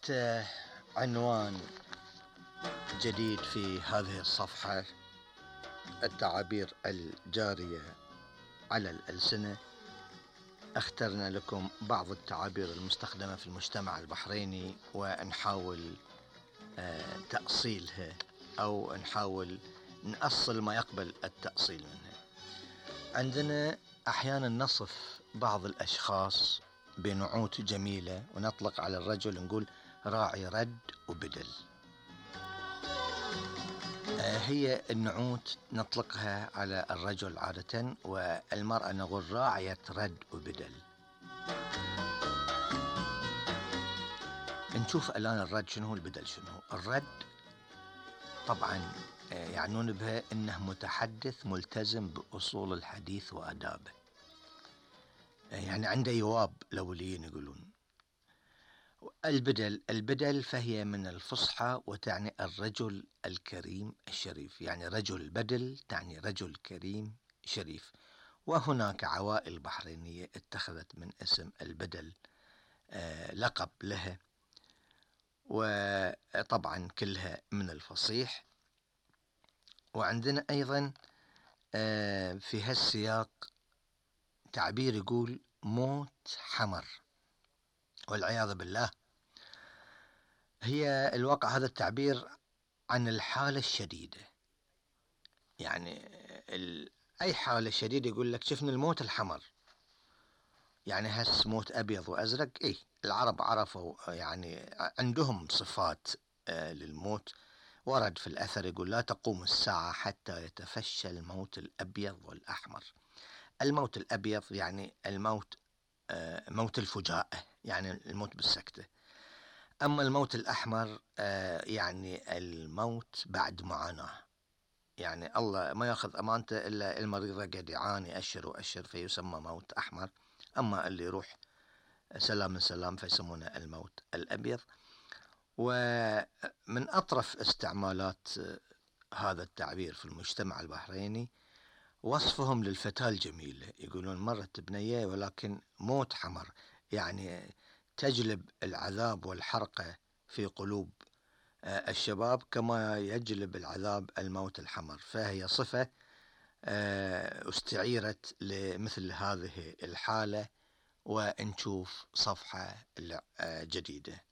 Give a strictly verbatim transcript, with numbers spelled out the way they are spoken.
تحت عنوان جديد في هذه الصفحة، التعابير الجارية على الألسنة، اخترنا لكم بعض التعابير المستخدمة في المجتمع البحريني ونحاول تأصيلها أو نحاول نأصل ما يقبل التأصيل منها. عندنا أحيانا نصف بعض الأشخاص بنعوت جميلة ونطلق على الرجل نقول راعي رد وبدل. هي النعوت نطلقها على الرجل عادة، والمرأة نقول راعية رد وبدل. نشوف الآن الرد شنو، البدل شنو. الرد طبعا يعنون بها انه متحدث ملتزم بأصول الحديث وآدابه، يعني عنده يواب الأوليين يقولون. البدل البدل فهي من الفصحى وتعني الرجل الكريم الشريف، يعني رجل بدل تعني رجل كريم شريف. وهناك عوائل بحرينية اتخذت من اسم البدل آه لقب لها، وطبعا كلها من الفصيح. وعندنا أيضا آه في هالسياق تعبير يقول موت حمر والعياذ بالله. هي الواقع هذا التعبير عن الحالة الشديدة، يعني ال... أي حالة شديدة يقول لك شفنا الموت الحمر، يعني هس موت أبيض وأزرق. إيه العرب عرفوا، يعني عندهم صفات آه للموت. ورد في الأثر يقول لا تقوم الساعة حتى يتفشى الموت الأبيض والأحمر. الموت الأبيض يعني الموت آه موت الفجاءة، يعني الموت بالسكتة. أما الموت الأحمر آه يعني الموت بعد معاناة، يعني الله ما يأخذ أمانته إلا المريض قد يعاني أشهر وأشهر فيسمى موت أحمر. أما اللي يروح سلام سلام فيسمونه الموت الأبيض. ومن أطرف استعمالات هذا التعبير في المجتمع البحريني وصفهم للفتاة الجميلة، يقولون مرت بنية ولكن موت حمر، يعني تجلب العذاب والحرقة في قلوب الشباب كما يجلب العذاب الموت الحمر. فهي صفة استعيرت لمثل هذه الحالة. ونشوف صفحة جديدة.